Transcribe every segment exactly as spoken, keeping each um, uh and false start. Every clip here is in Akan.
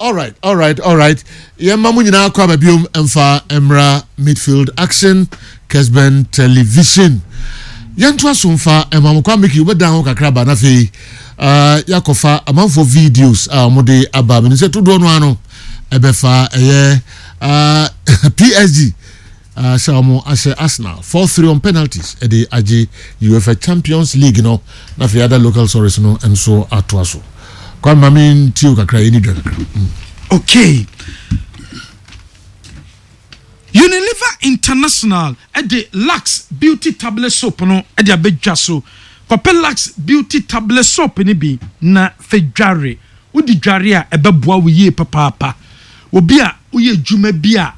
Alright, alright, alright. Yɛmma mo nyinaa kɔ aba biom mfa mmra Midfield Action, Kesben Television. Yɛntoa so mfa ɛma mo kwa Mickey wobɛdan ho kakra ba na afei uh, yɛakɔfa amanfoɔ videos a wɔde aba. Menim sɛ todoɔ no ano ɛbɛfa ɛyɛ uh, P S G uh, sɛ wɔn ahyɛ Arsenal four three on penalties ɛde agye UEFA Champions League no, na afei other local stories no nso atoa so. Kwame, maame ntio kakra, yɛni dwa kakra mm. Okay, Unilever International ɛde Lux Beauty Tablet Soap no ɛde abɛdwa so. Kɔpɛ Lux Beauty Tablet Soap no bi na fɛ dware. Wodi dware a, ɛbɛboa wo yie papaapa. Obi a woyɛ adwuma bi a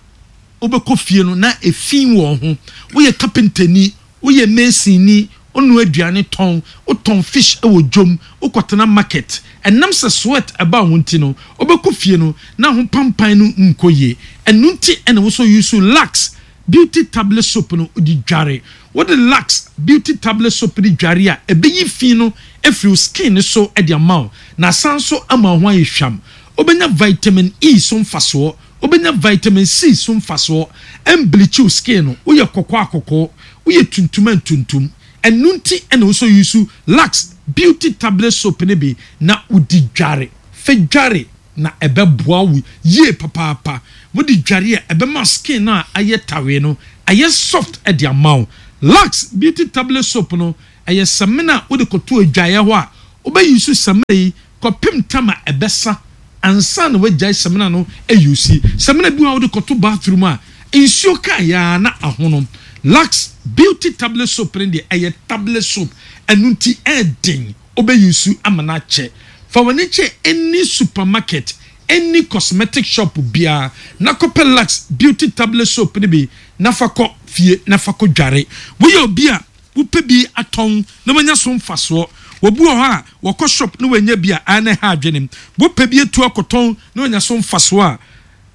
wobɛkɔ fie no na efi wɔ ho, woyɛ kapentani, woyɛ masonni, wonoa aduane tɔn, wotɔn fish wɔ dwom, wokɔtena market, ɛnam sɛ sweat ɛba wo nti no, wobɛkɔ fie no na ho pampan no nkɔ yie. Ɛno nti ɛna wosɔ use Lux Beauty Tablet Soap no wode dware. Wode Lux Beauty Tablet Soap de dware a, ɛbɛyi fi no afiri wo skin no so de ama wo, na asan so ama wo ho ayɛ hwam. Wobɛnya vitamin E so mfasoɔ, wobɛnya vitamin C so mfasoɔ. Ɛmbleach wo skin no. Woyɛ kɔkɔɔ akɔkɔɔ, woyɛ tuntum a ntuntum. Ɛno nti ɛna wosɔ use Lux Beauty Tablet Soap no bi na wodi dware. Fɛ dware na ɛbɛboa wo yie papaapa. Wode dware a, ɛbɛma skin no a ayɛ tawe no ayɛ soft ɛde ama wo. Lux Beauty Tablet Soap no ɛyɛ samina a wode kɔto adwaeɛ hɔ a, wobɛyi so samina yi kɔpem tam a ɛbɛsa ansa na wagyae samina no ayusi. Samina bi wɔ a wode kɔto bathroom a, nsuo kaa yaa na ahono. Lux Beauty Tablet Soap no deɛ, ɛyɛ tablet soap, ɛno nti ɛɛden wobɛyi ama no akyɛ. Fa w'ani kyɛ any supermarket, any cosmetic shop biara na kɔpɛ Lux Beauty Tablet Soap no bi na fa kɔ fie na fa kɔ dware. Woyɛ obi a wopɛ bi atɔn na wanya so mfasoɔ, wɔbi wɔ hɔ a wɔkɔ shop na wanya bi a ɛna ɛha adwene, wopɛ bi atu akɔtɔn na wanya so mfasoɔ a,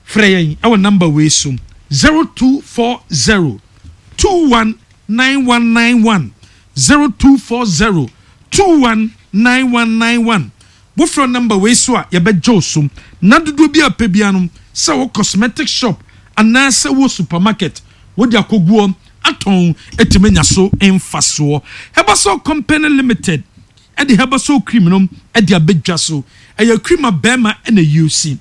frɛ yɛn ɛwɔ number wei so: zero two four zero two one nine one nine one, zero two four zero two one nine one nine one. Wofrɛ number wei so a, yɛbɛgye wo so na dodoɔ bi a pɛ bia no, sɛ wo cosmetic shop anaasɛ wo supermarket, wode akɔguɔ atɔn ɛtumi anya so mfasoɔ. Herbasol Company Limited ɛde Herbasol cream no ɛde abɛdwa so. Ɛyɛ cream a bɛrima ɛna use.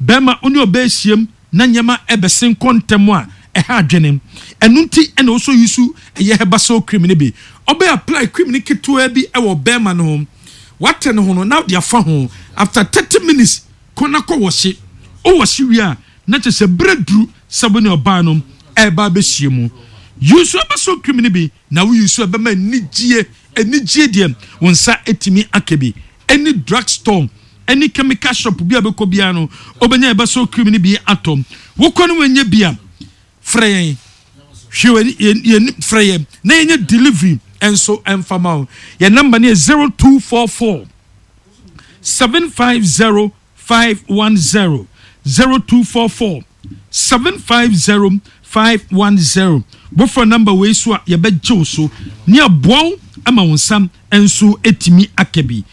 Bɛrima wo ne ɔbaa ahyiam na nneɛma ɛbɛsen kɔ ntɛm a, ɛha adwene. Ɛno nti ɛna wɔsɔ use ɛyɛ Herbasol cream no bi. Ɔbɛ apply cream no ketewa bi ɛwɔ bɛrima no ho, wate ne ho no na ɔde afa ho. After thirty minutes, kɔ na kɔ wɔhye. Ɔwɔhye wie a, na kyerɛ sɛ berɛ duru sɛ wo ne ɔbaa no ɛreba abɛhyia mu. Use Herbasol cream no bi na wo use, ɛbɛma anigye. Anigye deɛ, wo nsa etumi aka bi. Any drug store, any chemical shop bi a bɛkɔ biara no, wobɛnya Herbasol cream no bi atɔ. Wokɔ no wɔnyɛ bi a, frɛ yɛn. Hwɛ yɛn yɛn, frɛ yɛn na yɛnyɛ delivery nso ɛmfa wo. Yɛn number no yɛ zero two four four seven five zero five one zero, zero two four four seven five zero five one zero. Wofrɛ number wei so a, yɛbɛgye wo so ne aboa wo ama wo nsam nso etumi aka bi.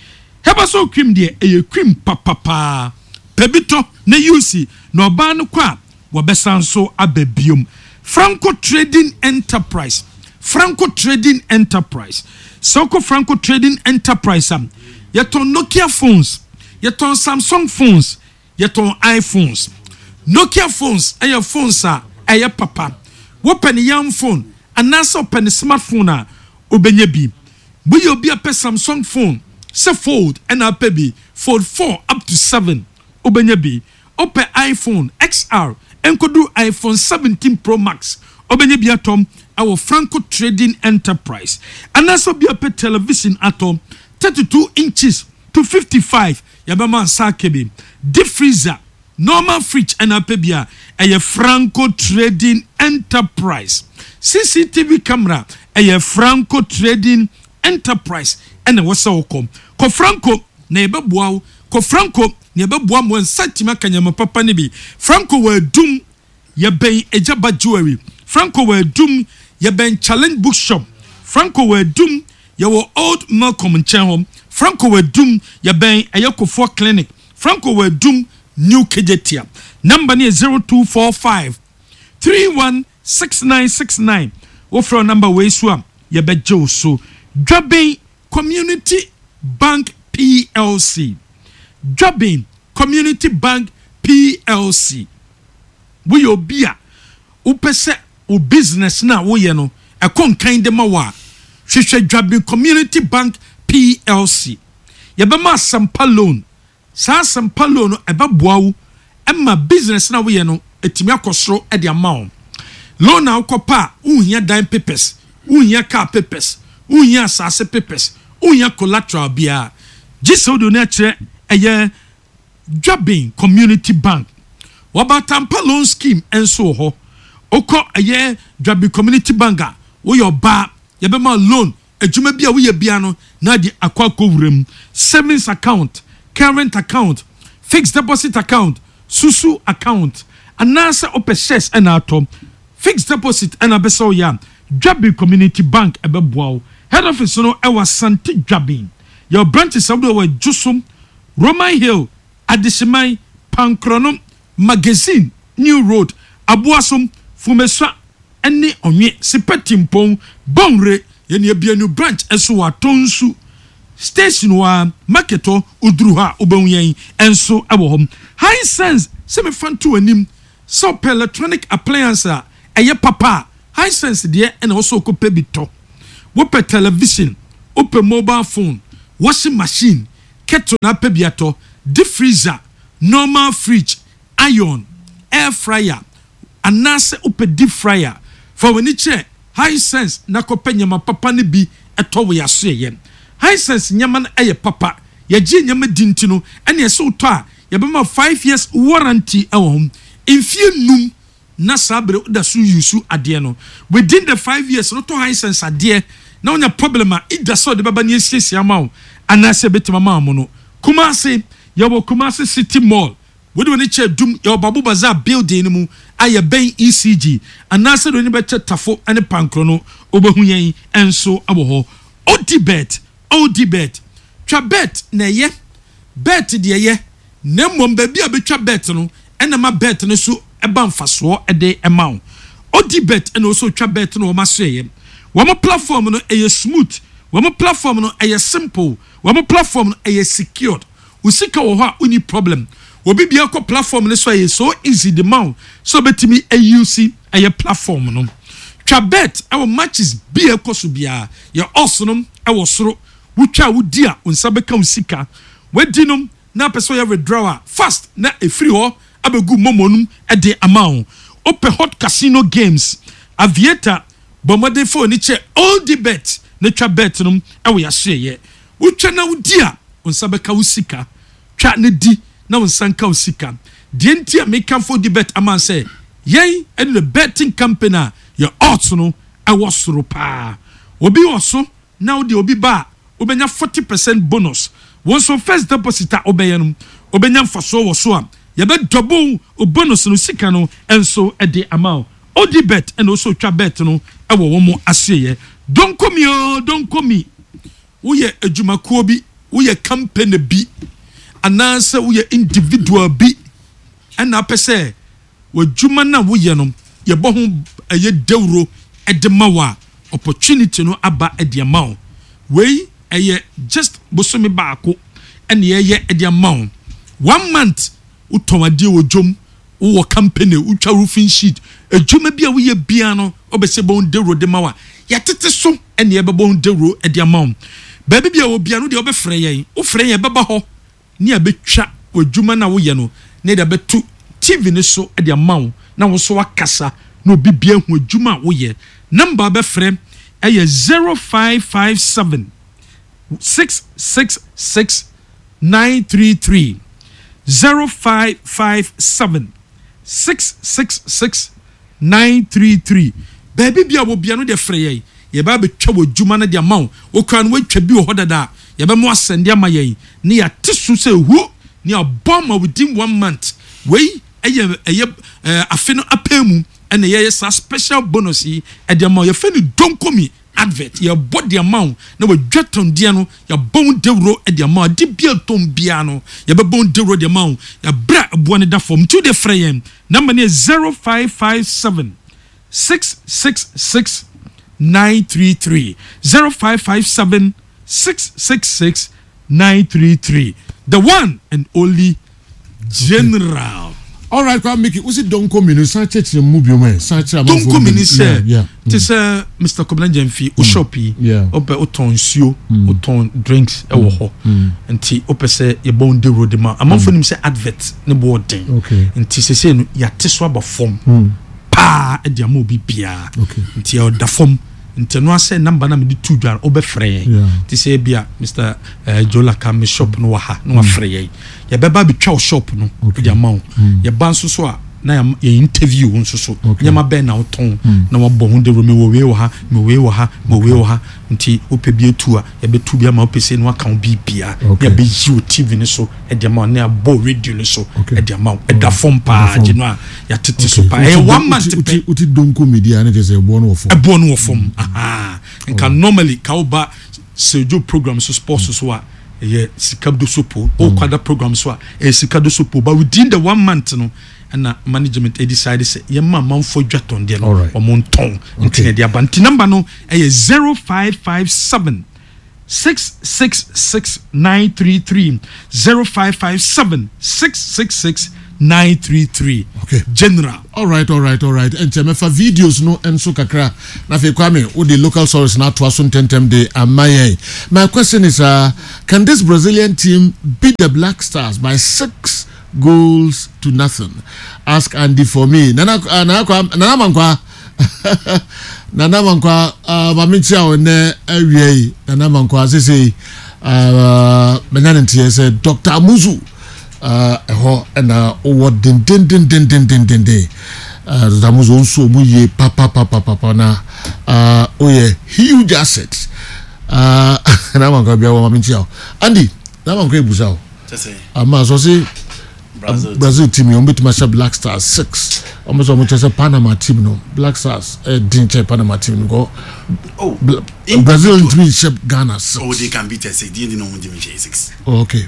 Herbasol cream deɛ, ɛyɛ cream papapaa. Pɛ bi tɔ na use na ɔbaa no kɔ a, wɔbɛsan so aba biom. Franco Trading Enterprise, Franco Trading Enterprise. Sɛ wokɔ Franco Trading Enterprise a, yɛtɔn Nokia phones, yɛtɔn Samsung phones, yɛtɔn iPhones. Nokia phones ɛyɛ phones a ɛyɛ papa. Wopɛ ne yam phone anaasɛ wopɛ ne smartphone a, wobɛnya bi. Woyɛ obi a pɛ Samsung phone, sɛ Fold ɛna apɛ bi, Fold four up to seven, wobɛnya bi. Wopɛ iPhone X R nkodu iPhone seventeen Pro Max, wobɛnya bi atɔm ɛwɔ Franco Trading Enterprise. Anaasɛ obi a pɛ television atɔ, thirty-two inches to fifty-five, yɛbɛma nsa aka bi. Deep freezer, normal fridge ɛna apɛ bi a, ɛyɛ Franco Trading Enterprise. C C T V camera, ɛyɛ Franco Trading Enterprise ɛna ɛwɔ sɛ wokɔ. Kɔ Franco na yɛbɛboa wo. Kɔ Franco na yɛbɛboa mo nsa tumi aka nyama papa no bi. Franco wɔ Adum, yɛbɛn Agyaba Jewelry. Franco wɔ Adum, yɛbɛn Challenge Bookshop. Franco wɔ Adum, yɛwɔ Old Malcolm nkyɛn hɔ. Franco wɔ Adum, yɛbɛn ɛyɛ Kofoɔ Clinic. Franco wɔ Adum, New Kejetia. Number no yɛ zero two four five three one six nine six nine. Wofrɛ number wei so a, yɛbɛgye wo so. Dwaben Community Bank P L C, Dwaben Community Bank P L C. Woyɛ obi a wopɛ sɛ wo business no a woyɛ no ɛkɔ nkan de ma wo a, hwehwɛ Dwaben Community Bank P L C. Yɛbɛma Asɛmpa Loan. Saa Asɛmpa Loan no ɛbɛboa wo ɛma business no a woyɛ no ɛtumi akɔ soro de ama wo. Loan a wokɔpa a, wonhia dan papers, wonhia car papers, wonhia asase papers, wonhia collateral biara, gye sɛ wode oni akyerɛ ɛyɛ Dwaben Community Bank. Wɔbatampa Loan Scheme nso wɔ hɔ. Wokɔ ɛyɛ Dwaben Community Bank a, woyɛ ɔbaa, yɛbɛma loan. Adwuma bi a woyɛ bia no na de akɔ akɔ wura mu, savings account, current account, fixed deposit account, susu account, anaasɛ wopɛ shares ɛna atɔ, fixed deposit ɛna bɛsɛ woyɛ a, Dwaben Community Bank ɛbɛboa wo. Head office no ɛwɔ Asante Dwaben. Yɛwɔ branches ahodoɔ wɔ Adwosom, Roman Hill, Adehyeman, Pankrono, Magazine, New Road, Aboasom, Fumesua ɛne Ɔnwe Sipɛtimpɔn Bɔnwere. Yɛne ebia new branch ɛso wɔ Atonsu Station hɔ a, market hɔ. Oduru hɔ a, wobɛhu yɛn ɛnso ɛwɔ hɔ. Hisense sɛ mefa nto anim sɛ ɔpɛ electronic appliance a ɛyɛ papa a, Hisense deɛ ɛna wɔsɔ okɔpɛ bi tɔ. Wopɛ television, wopɛ mobile phone, washing machine, kettle na apɛ bi atɔ, deep freezer, normal fridge, iron, air fryer, anaasɛ wopɛ deep fryer, fa w'ani kyerɛ Hisense na kɔpɛ nneɛma papa no bi ɛtɔ wɔ yɛaso. Yɛyɛ Hisense nneɛma no ɛyɛ papa, yɛgye nneɛma di nti no ɛne ɛsɛ wotɔ a, yɛbɛma five years warranty ɛwɔ ho, mfie num, na saa bere woda so use adeɛ no. Within the five years no, tɔ Hisense adeɛ na wonya problem a, ida sɛ ɔde bɛba ne asiesie ama wo anaasɛ ɛbɛtumi ama wo no. Kumase, yɛwɔ Kumase City Mall. Wode w'ani kyɛ Dum, yɛwɔ Babu Bazaar building no mu a yɛbɛn E C G, anaasɛ de w'ani bɛkyɛ Tafo ne Pankoro no, wobɛhu yɛn nso wɔ hɔ. Odibet, Odibet, twa bet na ɛyɛ bet deɛ yɛ, na mmom baabi a bɛtwa bet no ɛna ma bet no so ɛba mfasoɔ ɛde ɛma wo. Odibet ɛna ɔsɛ otwa bet no, wɔn aso yɛ wɔn platform no ɛyɛ smooth, wɔn platform no ɛyɛ simple, wɔn platform no ɛyɛ secured. Wo sika wɔ hɔ a, wonni problem. Obi bia kɔ platform no so, ɛyɛ so easy de ma wo sɛ obɛtumi a use ɛyɛ platform no. Twa bet ɛwɔ matches bi a ɛkɔ so biara. Yɛ odds no ɛwɔ soro. Wotwa a, wodi a, wo nsa bɛka wo sika. Wadi no na apɛ sɛ ɔyɛ withdraw a, fast na ɛfiri hɔ abɛgu momo no ɛde ama wo. Wopɛ hot casino games, aviator, bɔ mmɔden fa w'ani kyɛ Odibet na twa bet no ɛwɔ yɛasoɛyɛ. Wotwa na wodi a, wo nsa bɛka wo sika. Twa ne di na wo nsa nka wo sika. Deɛ nti a mekamfo Odibet ama sɛ yɛn ɛne the betting company a yɛ odds no ɛwɔ soro paa. Obi wɔ so na wode obi ba a, wobɛnya forty percent bonus. Wɔn nso first deposit a wobɛyɛ no, wobɛnya mfasoɔ wɔ so a yɛbɛ double o bonus no sika no nso de ama wo. Odibet ɛna ɔsɔ twa bet no ɛwɔ wɔn mo aseɛ. Donkomi o, donkomi. Woyɛ adwumakuo bi, woyɛ company bi, anaasɛ woyɛ individual bi ɛna apɛ sɛ w'adwuma no a woyɛ no yɛbɔ ho ɛyɛ dawuro ɛde ma wo a, opportunity no aba ɛde ama wo. Wei ɛyɛ just bosome baako ɛna yɛyɛ ɛde ama wo, one month. Wotɔn adeɛ wɔ dwom, wowɔ company, wotwa roofing sheet, adwuma bi a woyɛ bia no, wobɛsɛ bɔ ho dawuro de ma wo a, yɛtete so ɛna yɛbɛbɔ ho dawuro ɛde ama wo. Baabi bi a wɔ bia no deɛ, wobɛfrɛ yɛn. Wofrɛ yɛn, bɛba hɔ ne abɛtwa w'adwuma no a woyɛ no ne de abɛto T V no so de ama wo na wo so akasa na obi bia hu adwuma a woyɛ. Number bɛfrɛ ɛyɛ zero five five seven six six six nine three three, zero five five seven six six six nine three three. Baabi bi a wɔ bia no deɛ, frɛ yɛn, yɛbɛ abɛtwa wɔ adwuma no de ama wo. Wokura no, woatwa bi wɔ hɔ dada a, yɛbɛmo asɛnde ama yɛn ne yɛate so sɛ hu ne abɔ ama within one month. Wei ɛyɛ ɛyɛ ɛɛ afe no apɛ mu ɛna yɛyɛ saa special bonus yi ɛde ama wo. Yɛfɛ no donkomi. Advert yɛbɔ de ama wo na wadwa tɔndeɛ no, yɛbɔ wo dawuro de ama wo. Ade bia tɔn biara no, yɛbɛbɔ wo dawuro de ama wo yɛbrɛ a ɛboɔ no da fam. Nti wode frɛ yɛn, number no yɛ zero five five seven six six six nine three three, zero five five seven six six six nine three three, the one and only General. Alright, Kwame Miki, wosi donko mmienu, san kyerɛkyerɛ mu bio mɛ san kyerɛ amanfoɔ. Donko mi ni Yeah, sɛ yeah. te sɛ Mister Kobina Gyamfi o, shop yi, Yeah. wopɛ wotɔn nsuo, wotɔn drinks ɛwɔ hɔ, nti wopɛ sɛ yɛbɔ wo dawuro de ma amanfoɔ nim sɛ advert ne bɔ ɔden. Okay. Nti sesei no yɛate so aba fam paa de ama obi biara. Okay. Nti ɛda fam, nti ɛno asɛ number na mede tu dwa no, wobɛfrɛ yɛn. Yeah. Nti sɛ ebia Mister eh, Jolaka, me shop no wɔ ha, na wafrɛ yɛn, yɛbɛba abɛtwa wo shop no Okay. de ama wo. Yɛba nso so a, na yɛam- yɛ interview wo nso so. Okay. Nneɛma bɛn na wotɔn na wabɔ ho dawuro? Mewɔ wei wɔ ha, mewɔ wei wɔ ha, mewɔ wei wɔ ha, nti wopɛ bi etu a, yɛbɛtu bi ama. Wopɛ sɛ no waka wo biribia Okay. na yɛbɛyi wo T V no so de ama wo, na yɛabɔ wo radio no so Okay. de ama wo. Ɛda fam paa. Ɛda fam. Gye no a yɛatete so Okay. paa, ɛyɛ Wote- one month wote- pɛ. wote- wote donko media ne kyerɛ sɛ ɛboɔ no wɔ fam. Ɛboɔ no wɔ fam. Aha. Nka normally ka woba Sejo program so, sports so a, ɛyɛ sika do so po. Wokwada program so a, ɛyɛ sika do so po, but within the one month no, ɛna management decide sɛ yɛma amanfoɔ dwa tɔndeɛ no, Alright. ɔmo ntɔn, nti Okay. na ɛde aba. Nti number no ɛyɛ zero five five seven six six six nine three three, zero five five seven six six six nine three three. Okay. General. Alright, alright, alright. Nkyɛn mɛfa videos no nso kakra na afei Kwame wode local stories na atoa so ntɛntɛm de ama yɛn. My question is, uh, can this Brazilian team beat the Black Stars by six goals to nothing? Ask Andy for me. Nana uh, Nana Kwa, Nana Mankwa, Nana Mankwa, uh, maame nkyia wo nnɛ awia yi. Nana Mankwa sese uh, menya ne nteɛ sɛ Doctor Amuzu uh, ɛhɔ ɛna wowɔ dendendendendendenden. uh, Doctor Amuzu nso ɔmu yie papapapapa na uh, woyɛ huge asset. uh, Nana Mankwa bia wɔ, maame nkyia wo. Andy, Nana Mankwa ebusa wo ama sɔ se Brazil. Brazil team yi, wɔn bɛtumi ahyɛ Black Stars six. Wɔn sɛ wɔn kyerɛ sɛ Panama team no, Black Stars ɛyɛ den kyɛn Panama team no kɔ. Oh, Bla- Brazil ntumi nhyɛ Ghana six. Oh, they can beat us six. Deɛ na ɔmo ntumi nhyɛ six. Oh, okay.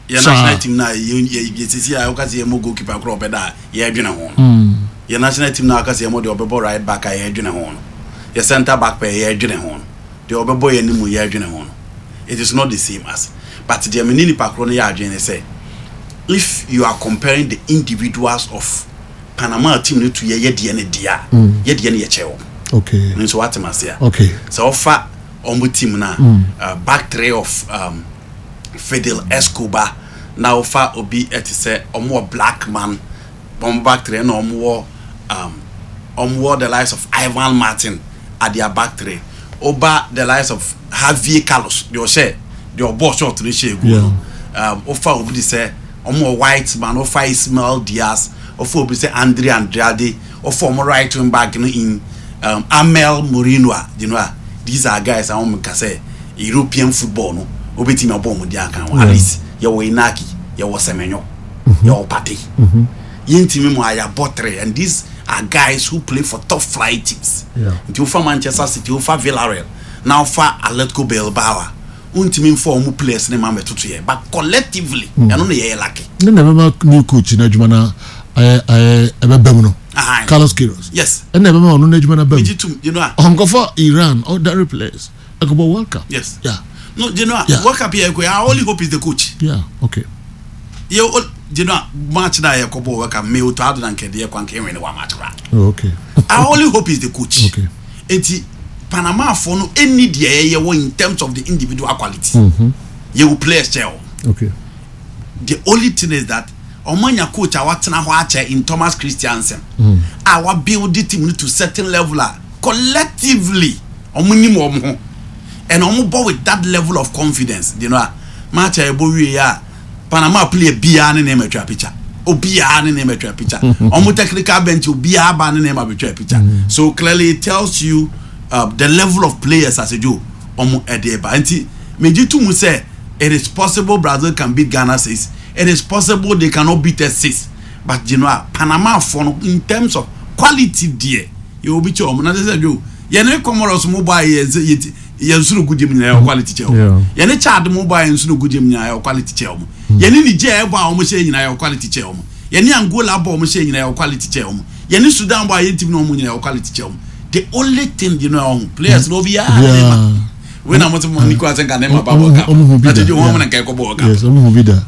Yɛ Saa. national team na yɛ yɛ yɛ sisi a ɔka sɛ yɛ mo goalkeeper korɔ ɔbɛda a yɛdwene ho no. Yɛ national team na ɔka sɛ yɛ mo deɛ ɔbɛbɔ right back a yɛdwene ho no. Yɛ centre back pɛ yɛdwene ho no. Deɛ ɔbɛbɔ yɛ anim yɛdwene ho no. It is not the same as. But deɛ me ne nipa korɔ no yɛ adwene ne sɛ, if you are comparing the individuals of Panama team no to yɛ yɛ deɛ ne deɛ a, yɛ deɛ ne yɛ kyɛ wɔn. Okay nso wate ma se a. Okay sɛ ɔfa ɔmo team na uh, back three of um, Fidel Escobar, na ɔfa obi ɛte sɛ ɔmo wɔ Black Man, ɔmo back three, na ɔmo wɔ um, ɔmo wɔ the likes of Ivan Martin at their back three, ɔba the likes of Javier Carlos, deɛ ɔhyɛ deɛ ɔbɔ short no hyɛ egu no, um, ɔfa obi de sɛ ɔmo wɔ White Man, ɔfa Ismael Diaz, ɔfa obi sɛ Andre Andrade, ɔfa ɔmo right wing back no in um, Amel Moreno a, you know a, these are guys a wɔn ka sɛ European football no obetumi abɔ ɔmo di aka ho. At least yɛwɔ Inaki, yɛwɔ Semenyo, yɛwɔ Partey, yɛntumi mu ayabɔ three, and these are guys who play for top flight teams. Yeah. Nti wofa Manchester City, wofa Villarreal, na wofa Atletico Bilbao a, wontumi mfa ɔmo players ne ma mɛtoto yɛ, but collectively ɛno na yɛyɛ lucky. Ne na ɛbɛma new coach n'adwuma na ɛyɛ ɛyɛ ɛbɛbɛ mu no. Ahan. Carlos Queiroz. Yes. Ɛna ɛbɛma ɔno n'adwuma na bɛ mu. Megye tum, you know a. Ɔnkɔfɔ Iran ordinary players ɛkɔbɔ World Cup. Yes. Yeah no, you know a, Yeah. World Cup yɛ kɔ, our only hope is the coach. Yeah, okay. Yɛ o, you know a, match na yɛ kɔ bɔ World Cup, me o to ado na nkɛdeɛ yɛ kwan kɛnwɛn ne wa match kora. Oh, okay. Our only hope is the coach. Okay. Eti Panama fo no any deɛ yɛyɛ wɔ in terms of the individual quality, yɛ wɔ players kyɛ o. Okay the only thing is that ɔmo anya coach a watena hɔ akyɛ in Thomas Christiansen a wa build the team no to certain level a collectively ɔmo nim wɔn ho and ɔmo bɔ with that level of confidence. You know a, match a ɛbɔ wie a, Panama player biara ne nneɛma atwa picture, obiara ne nneɛma atwa picture, ɔmo technical bench obiara ba ne nneɛma atwa picture. So clearly it tells you uh, the level of players as a jo ɔmo ɛde ba. Nti megye to mu sɛ it is possible Brazil can beat Ghana six. It is possible they cannot beat us six, but you know a, Panama fo no, in terms of quality deɛ, yɛ obi kyɛ ɔmo na sɛ jo Yɛne Comoros mo bɔ a yɛn sɛ yɛn nso no gu gyem nyinaa yɛ quality kyɛ wɔn. Yɛne Chad mo bɔ a yɛn nso no gu gyem nyinaa yɛ quality kyɛ wɔn. Yɛne Niger bɔ a wɔn hyɛ nyinaa yɛ quality kyɛ wɔn. Yɛne Angola bɔ a wɔn hyɛ nyinaa yɛ quality kyɛ wɔn. Yɛne Sudan bɔ a yɛn team na wɔn nyinaa yɛ quality kyɛ wɔn. The only thing you know, ɔho players no obiara ne ma wei na mo te mo ni kɔ asɛnka ne ma ba World Cup na te gye wɔn na nka ɛkɔ bɔ World Cup. Yes, ɔmo hu bi da.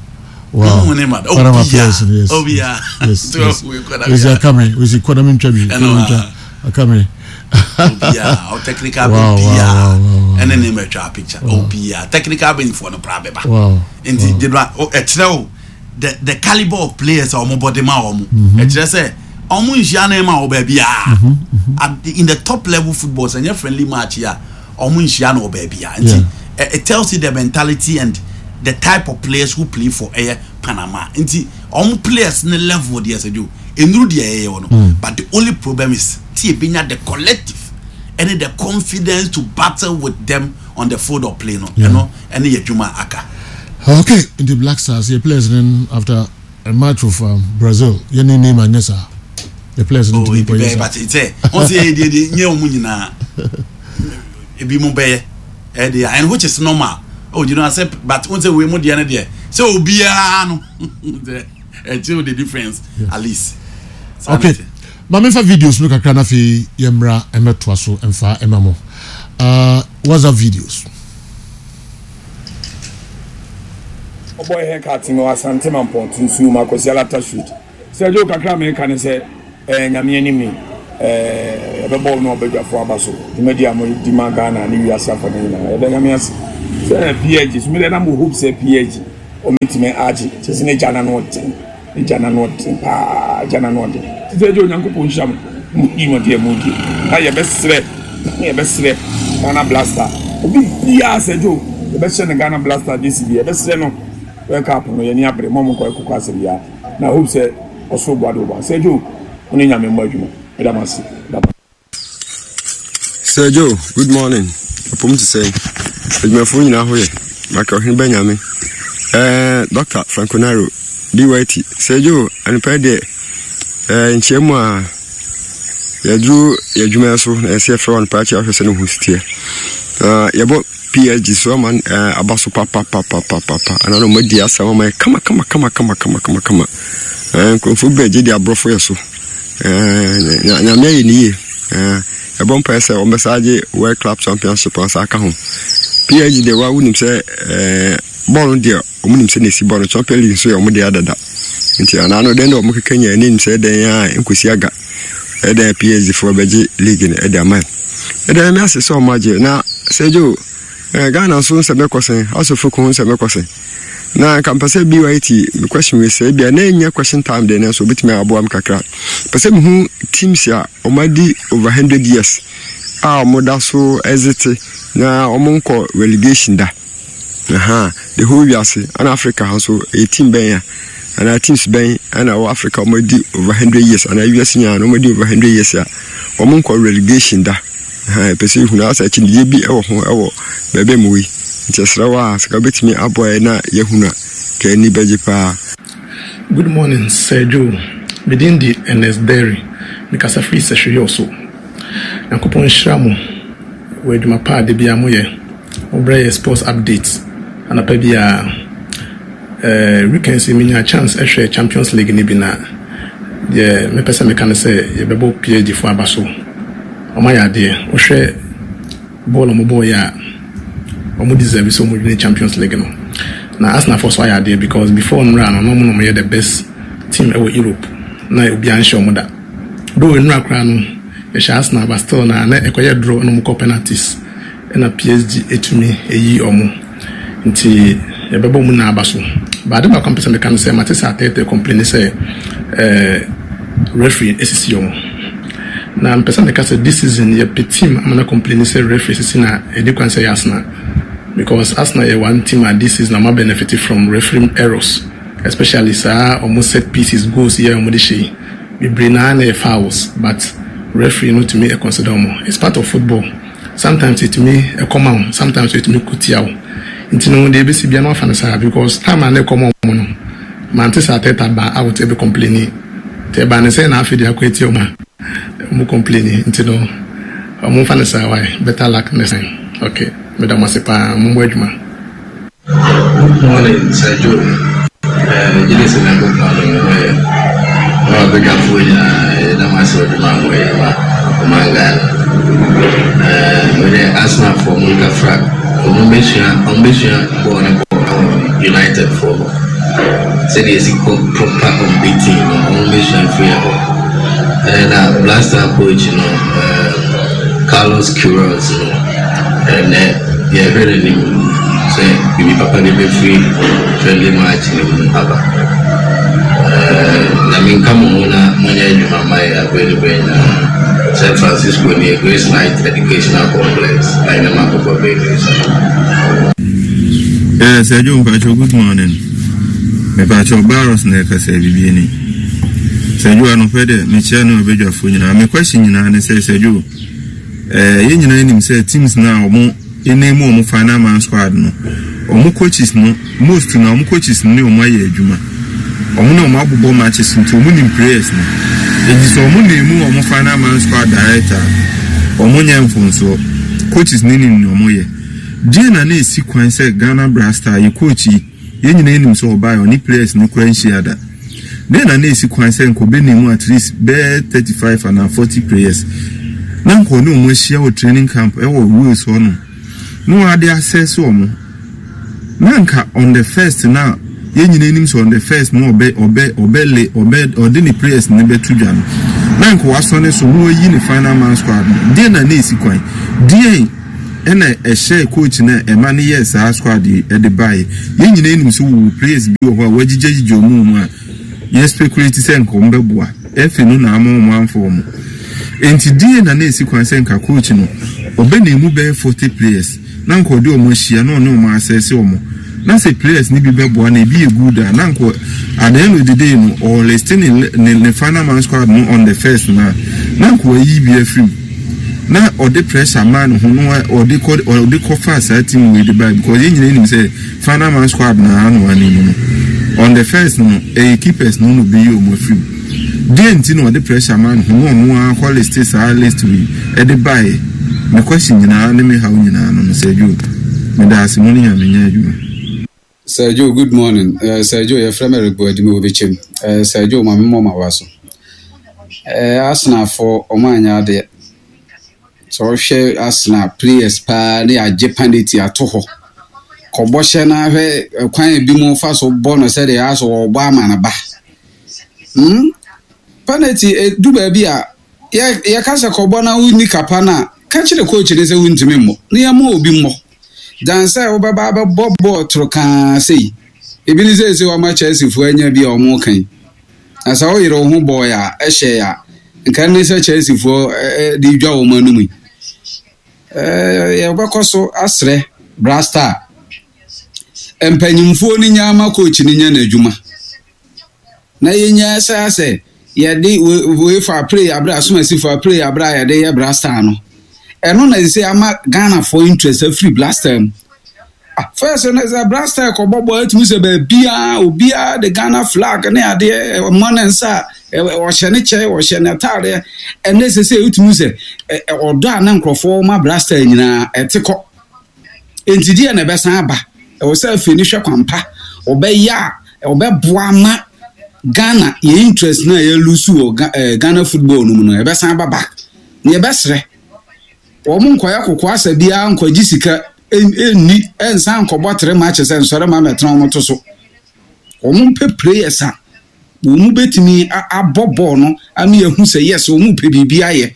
Wow. Ɔmo ne ma da. Panama Obiara players, yes. Obiara. Yes, yes. Wesi akame, wesi kɔdam ntwa bi. Ɛno, Kɔdam ntwa. Akame. Obiara o technical Wow, bench wow, biara wow, wow, wow. ɛne ne ma atwa picture, obiara technical bench foɔ no pra bɛba. Wow. Nti gyedwa ɛkyerɛ o the the calibre of players a wɔn bɔ de ma wɔn, ɛkyerɛ sɛ wɔn nhyia ne ma wɔ baabiara. At the- in the top level football, sɛ nyɛ friendly match yi a, wɔn nhyia no wɔ baabiara. Nti ɛ- it tells you the mentality and the type of players who play for ɛyɛ Panama. Nti wɔn players ne level deɛ, sɛ jo enuru deɛ ɛyɛ wɔ no, but the only problem is ti ebi nya the collective ɛne the confidence to battle with them on the field of play no. Ɛno ɛne yɛ adwuma aka. Okay, the Black Stars, your players then after a match of um, Brazil, you name name and yes, sir. The players Oh, need to be ebi bɛyɛ, yes, but sɛ wɔn sɛ yɛ deɛ deɛ nyɛ wɔn nyinaa, ebi mo bɛyɛ ɛdeɛ, and which is normal. Oh, you know, I said, but wɔn sɛ wei mo deɛ no deɛ sɛ obiara no ɛkyerɛ the difference at least. Saa Okay. na ɛte. Ma memfa videos no kakra na afei yɛmmra mmɛtoa so mfa ɛma mo. Uh, WhatsApp videos. Ɔbɔ haircut no Asante Mampɔn nsuo mu Akɔsi Alata Street. Sɛ Joe, kakra meka ne sɛ ɛɛ Nyame anim ni ɛɛ yɛbɛbɔ no ɔbadwafoɔ aba so dwumadi a modi ma Ghana ne wiase afa no nyinaa. Yɛda Nyame ase sɛ P S G so mede na mo hope sɛ P S G ɔmɛtumi agye kyɛ sɛ ne gya na no ɔden, ne gya na no ɔden paa, gya na no ɔden. Sɛ Joe, Onyankopɔn nhyira mo mo dwumadi a modi, na yɛbɛsrɛ yɛbɛsrɛ Ghana Blaster obi biara sɛ Joe, yɛbɛhyɛ no Ghana Blaster gyesi bi, yɛbɛsrɛ no World Cup no yɛni abere mo mo nkɔ ɛkokɔ asɛ biara, na hope sɛ ɔsoro boa de wo ba. Sɛ Joe, wo ne Nyame mmɔ adwuma. Ɛda mo ase, ɛda mo. Sir Joe, good morning. Apom te sɛn? Adwumafoɔ nyinaa ho yɛ? Maka Ɔhene Bɛnyame. Eh, Doctor Franco Naro, D Y T. Sir Joe, anɔpa yi deɛ, eh, nkyia mu a yɛduru yɛ adwuma so na yɛsɛ yɛfrɛ wɔ anɔpa akyi ahwɛ sɛ ne ho si teɛ. Na yɛbɔ P S G so ama eh, aba so papapapapapa. Ana na ɔmo adi asɛm ama yɛ kama kama kama kama kama kama kama. Eh, nkurɔfoɔ bi agye di aborɔfo yɛ so. Eh, nya- Nyame ayɛ ne yie. Eh, yɛbɔ mpaeɛ sɛ ɔmbɛsa agye World Club Championship asa aka ho. P S G deɛ, wa wonim sɛ eh, bɔɔl no deɛ, ɔmo nim sɛ na esi bɔɔl no. Champion League nso yɛ ɔmo deɛ adada, nti anaa no dɛn dɛ ɔmo keka nya anim sɛ ɛdɛn a nkosi aga ɛdɛn P S G foɔ bɛgye league no ɛde ama yɛn. Ɛdɛn ɛmi ase sɛ ɔmo agye. Na sɛ Joe, eh, Ghana nso nsɛm ɛkɔ sɛn? Asofo ko ho nsɛm ɛkɔ sɛn? Na nka mpɛ sɛ B Y T me question wei sɛ ebia na ɛnyɛ question time deɛ, nanso obɛtumi aboa me kakra. Pɛ sɛ mehu teams a ɔmo adi over hundred years a ɔmo da so ɛzete na ɔmo nkɔ relegation da. Aha, the whole wiase ana Africa ha nso, ɛyɛ team bɛn a anaa teams bɛn ɛna ɛwɔ Africa ɔmo adi over hundred years anaa wiase nyinaa na ɔmo adi over hundred years a ɔmo nkɔ relegation da? Aha, ɛpɛ sɛ ehunu asɛ akyinnyegye bi ɛwɔ ho ɛwɔ baabi a mo yi, nti ɛsrɛ wo a sika wobɛtumi aboa yɛ na yɛhunu a ka ani bɛgye paa. Good morning, Sir Joe. Me din de Ernest Derry. Mekasa firi Sɛhweyɛ so. Nyankopɔn nhyira mo wɔ adwuma pa a da biara moyɛ. Mobrɛ yɛ sports update anapa biara. Eh, weekends yi menya chance ɛhwɛ Champions League ni bi, na deɛ mepɛ sɛ meka ne sɛ yɛbɛbɔ P S G fo aba so. Ɔma yɛ adeɛ. Wohwɛ bɔɔl a ɔmo bɔɔyɛ a, ɔmo deserve sɛ ɔmo win Champions League no. Na Arsenal fo so ayɛ adeɛ because before nnura no, na ɔmo na ɔmo yɛ the best team ɛwɔ Europe na obiara nhyɛ ɔmo da. Though nnura koraa no yɛhyɛ Arsenal, but still na na ɛkɔyɛ draw na ɔmo kɔ penalties ɛna P S G etumi eyi ɔmo, nti yɛbɛbɔ mu na aba so. But ade baako a mpɛ sɛ meka no sɛ mate sɛ Arteta complain sɛ ɛɛ referee esisi ɔmo, na mpɛ sɛ meka sɛ this season yɛpɛ team ama na complain sɛ referee sisi na ɛdi kwan sɛ yɛ Arsenal, because Arsenal yɛ one team a this season ɔmo benefit from referee errors, especially saa ɔmo set pieces goals yɛ ɔmo de hyɛ yi bebree naa na yɛ fouls, but referee no tumi consider ɔmo. It's part of football. Sometimes etumi ɛkɔma wo, sometimes etumi ko tia wo, nti no deɛ ebesi bia no afa no saa, because time a na ɛkɔma ɔmo no, mante sɛ Arteta ba out ɛbɛ complain. Nti ɛba ne sɛ na afei de akɔ etia ɔmo a ɔmo complain, nti no Momfa no saa wai, better luck next time. Ok, meda mo ase paa, mommɔ adwuma. Good morning Sir Joe, eh, megye di sɛ Nyankopɔn adom wo ho yɛ. Mo abadwafoɔ nyinaa yɛda mo ase wɔ adwuma a moyɛ ma ɔman Ghana. Eh, me deɛ Arsenalfoɔ mo nkafra, ɔmo bɛsua, ɔmo bɛsua bɔɔl no bɔ ɛwɔ United foɔ hɔ. Sɛdeɛ yɛsi kɔ proper unbeaten no, ɔmo bɛsua firi ɛhɔ. Eh, na Blaster coach no, eh, Carlos Queiroz no, ɛnɛ yɛhwɛ n'anim sɛ biribi papa bi bɛfiri friendly match no mu aba. Eh, Nyame nka mo ho na monyɛ adwuma ma yɛ aberɛ ne berɛ nyinaa. Sɛ Francisco nie, Grace Light Educational Complex, Ainama Kɔkɔ Bakery so. Yeah, Sir Joe Mpacho, good morning. Mepacho Barros na ɛkasa biribi ni. Sir Joe anɔpɛ dɛ mekyia ne ɔbadwafoɔ nyinaa. Me question nyinaa ne sɛ Sir Joe, eh, yɛn nyinaa nim sɛ teams na ɔmo ɛnam mu ɔmo final man squad no, ɔmo coaches no, most na ɔmo coaches no ne ɔmo ayɛ adwuma. Ɔmo ne ɔmo abobɔ matches nti ɔmo nim players no. Enti sɛ ɔmo na emu ɔmo final man squad director, ɔmo nyɛ mfomsoɔ. Coaches ne nim nea ɔmo yɛ. Deɛ na na esi kwan sɛ Ghana Black Star yɛ coach yi, yɛn nyinaa nim sɛ ɔbaa ɔne players no kora nhyia da. Deɛ na na esi kwan sɛ nkɔbɛ ne mu at least bɛɛ thirty five ana forty players na nkɔ ne ɔmo ahyia wɔ training camp ɛwɔ Wales hɔ nom na wɔade assess ɔmo, na nka on the first na yɛn nyinaa nim sɛ on the first na ɔbɛ ɔbɛ ɔbɛ le ɔbɛ ɔde ne players ne bɛto dwa no, na nka wasɔ ne so na wayi ne final man squad no. Deɛ na na esi kwan deɛ ɛna ɛhyɛ coach na ɛma ne yɛ saa squad yi ɛde baeɛ? Yɛn nyinaa nim sɛ wɔwɔ players bi wɔ hɔ a wɔagyigyagyigya ɔmo mu a yɛ speculate sɛ nka ɔmo bɛboa ɛfɛ no na ama ɔmo amfa ɔmo. Nti deɛ na na esi kwan sɛ nka coach no ɔbɛ na emu bɛyɛ forty players na nka ɔde ɔmo ahyia na ɔne ɔmo asɛse ɔmo, na sɛ players ni bi bɛboa na ebi yɛ good a, na nka at the end of the day no ɔlist ne ne ne final man squad no on the first na na nka wayi bi afiri mu na ɔde pressure maa ne ho na ɔde kɔ ɔde kɔ fa saa team wei de ba, because yɛn nyinaa nim sɛ final man squad na ano anim no on the first no ɛyɛ keepers no na obi yi ɔmo afiri mu. Deɛ nti na ɔde pressure maa ne ho na ɔno akɔ list saa list wei ɛde baeɛ? Me question nyinaa ne me haw nyinaa no no sɛ Joe, meda ase, mo ne Nyame nyɛ adwuma. Sir Joe, good morning. Uh, Sir Joe, yɛfrɛ me Eric Boadimi wɔ Bɛkyɛm. Uh, Sir Joe, ma memmɔ ma wa so. Uh, Arsenalfoɔ, ɔmo anyɛ adeɛ. Sɛ ɔhwɛ Arsenal players paa ne yɛagye penalty ato hɔ. Kɔbɔ hyɛ na hwɛ kwan ebi mu fa so bɔ no sɛdeɛ asɔ wɔbɔ ama no ba. Hmm? Penalty edu baabi a yɛ yɛka sɛ kɔbɔ na wonni kapa no a, ka kyerɛ coach ne sɛ wontumi mmɔ na yɛma obi mmɔ. Dan sɛ wobɛba abɛbɔ bɔɔl toro kaa sei ebi ne sɛ sɛ wama Chelseafoɔ anya bi a ɔmo kan na sɛ woyere wo ho bɔɔl a ɛhyɛ a nka ne sɛ Chelseafoɔ de dwa wɔn anum yi. Yɛbɛkɔ so asrɛ Black Star mpanyimfoɔ no nya ama coach no nya n'adwuma na yɛnya sɛ asɛ yɛde UEFA play abere asomasifo play abere a yɛde yɛ Black Star no, ɛno na sɛ ama Ghanafoɔ interest afiri Black Star mu. First no sɛ Black Star kɔbɔ bɔ atumi sɛ baabiaa obiaa de Ghana flag ne adeɛ ɔmmɔ ne nsa a ɔhyɛ ne kyɛ, ɔhyɛ ne ataadeɛ. Ɛnɛ sɛ sɛ wotumi sɛ ɔdɔ a ne nkurɔfoɔ ma Black Star nyinaa ɛte kɔ. Enti deɛ na ɛbɛsan aba, ɛwɔ sɛ afei ne hwɛ kwampa ɔbɛyɛ a ɔbɛboa ma Ghana yɛ interest na yɛ lose wɔ Ghana football no mu no ɛbɛsan aba back. Ne yɛbɛsrɛ wɔn nkɔyɛ koko asa biara nkɔgye sika ɛnni ɛnsan nkɔbɔ tere match sɛ nsɔre ma mɛtena wɔn to so. Wɔn mpɛ players a wɔn bɛtumi abɔ bɔɔl no ama yɛhu sɛ yes, wɔn pɛ biribi ayɛ,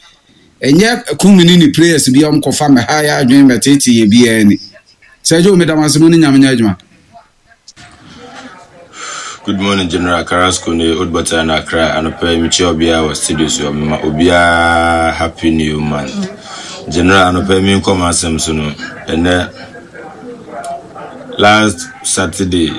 ɛnyɛ kumi ne players bi a wɔn kɔfa mɛha yɛ adwene mɛtete yɛ biara ni. Sɛ ɛgye omi dam ase mu ne Nyame nyɛ adwuma. Good morning, General Carrasco ne Old Butter na Accra. Anɔpa yi mekyia obiara wɔ studio so, mema obiara happy new month. General, anɔpa yi menkɔ m'asɛm so no, ɛnɛ last Saturday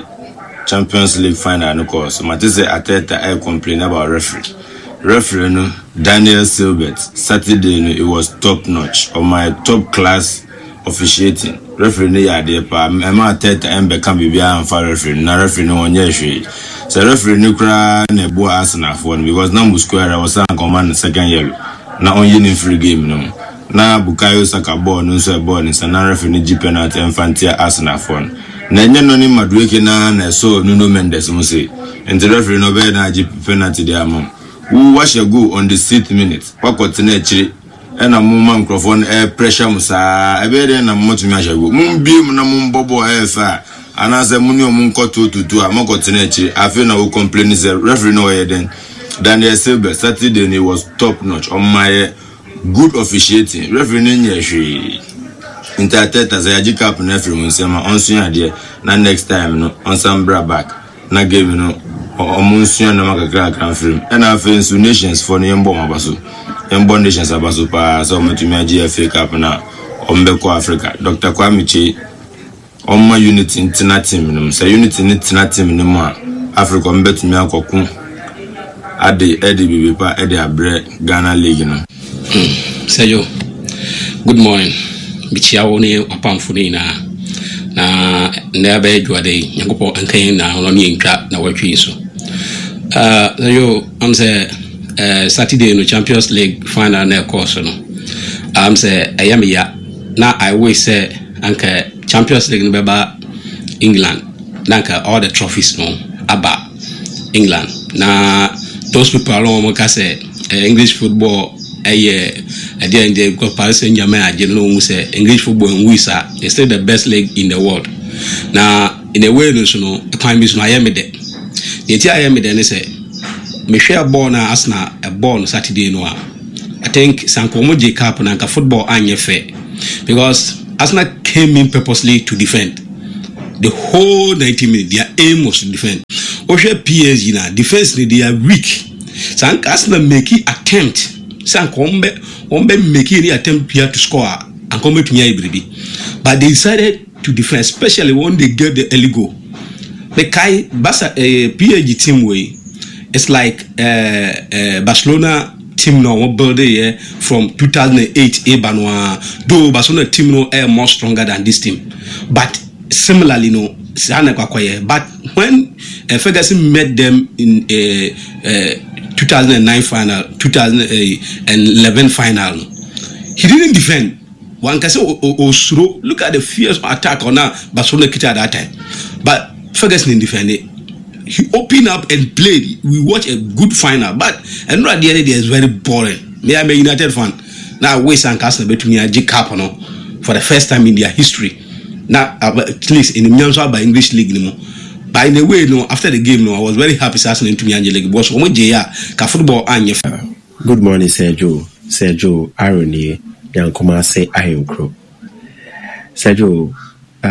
Champions League final no kɔɔ so. Mate sɛ Arteta ɛ complain about referee. Referee no, Daniel Siebert, Saturday no it was top notch. Ɔma top class officiating. Referee no yɛ adeɛ paa. Ɛma Arteta ɛmbɛka biribiara mfa referee no na referee no wɔnyɛ hwee. Sɛ referee no koraa na ɛboa Arsenalfoɔ no because na Mosquera wɔ sɛ anka ɔma no second yellow na ɔnyi ne mfiri game no mu. Na Bukayo Saka bɔɔl no nso ɛbɔɔ ne nsa na referee no gye penalty ɛmfa ntia Arsenal foɔ no. Na ɛnyɛ no ne Madueke na na ɛsɔɔ Nuno Mendes mu se nti referee no ɔbɛyɛ na agye penalty de ama wo. Wahyɛ goal on the sixth minute, wakɔtena akyire ɛna mo ma nkurɔfoɔ no ɛɛ pressure mo saa. Ɛbɛyɛ dɛn na mo tumi ahyɛ goal? Mo mbie mu na mo mbɔ bɔɔl ɛyɛ fɛ a, anaasɛ mo ne ɔmo nkɔ tuotutu a mɔkɔtena akyire. Afei na wo complain sɛ referee no ɔyɛ dɛn? Daniel Silbert, Saturday no was top notch. Ɔmo ayɛ good officiating. Referee no nyɛ hwee. Nti Arteta, sɛ yɛagye cup no afiri mu nsɛm a, ɔnsua adeɛ na next time no ɔnsan bra back na game no ɔmo nsua nneɛma kakra kakra mfiri mu. Ɛna afei nso Nations foɔ no, yɛmbɔ ɔmo aba so, yɛmbɔ Nations aba so paa sɛ ɔmo atumi agye F A Cup na ɔmo bɛkɔ Africa. Doctor Kwame Kyei, ɔmma unity ntena team no mu. Sɛ unity ne tena team no mu a, Africa ɔmo bɛtumi akɔko ade ɛde biribi pa ɛde abrɛ Ghana league no. Sɛyo, good morning. Mekyia wo ne wapamfo no nyinaa. Na nnɛ abɛyɛ dwoada yi, Nyankopɔn nka yɛn nyinaa ho na ɔne yɛntwa na wɔatwe yi so. Uh, Sɛyo, am sɛ uh, Saturday no Champions League final na ɛkɔɔ so no, am sɛ ɛyɛ me ya na I wish sɛ anka Champions League no bɛba England na anka all the trophies no aba England. Na those people a wɔn ka sɛ eh, English football ɛyɛ ɛdeɛ ɛdeɛ because Paris Saint-Germain agye no, na wɔn sɛ English football nwi saa, it's still the best league in the world. Na in a way no so no, kwan bi so no ayɛ me dɛ. Deɛ ti ayɛ me dɛ ne sɛ mehwɛ bɔɔl na Arsenal ɛbɔɔl no Saturday no a, I think sanko wɔn gye cup na nka football anyɛ fɛ, because Arsenal came in purposely to defend the whole ninety minutes. Their aim was to defend. Wohwɛ P S G na defence ni, they are weak. Sanka Arsenal make attempt sɛ anka wɔn bɛ wɔn bɛ make any attempt here to score a, anka wɔn bɛtumi ayɛ biribi, but they decided to defend, especially when they get the early goal. Mekae Barca, eh, P S G team wei, it's like uh, uh, Barcelona team na wɔn build yɛ from two thousand eight eba no a, though Barcelona team no ɛyɛ more stronger than this team, but similarly no saa na ɛkɔ akɔyɛ. But when uh, Ferguson met them in uh, uh, two thousand nine final, twenty eleven final no, he didn't defend. Wankasa osuro. Look at the fierce attack on Barcelona kita at that time, but Ferguson didn't defend it. He opened up and played. We watch a good final, but ɛnura deɛ ne deɛ is very boring. Me, I'm a United fan. Na wish anka Arsenal betumi agye cup no for the first time in their history, na at least enimnyam nso aba English league ni mu. But in a way no, after the game no, I was very happy sɛ Arsenal ntumi anye league because wɔn gye ya ka football anyɛ. Good morning, Sir Joe. Sir Joe, Aaron nie, Nyankomase Ahenkro. Sir Joe, um,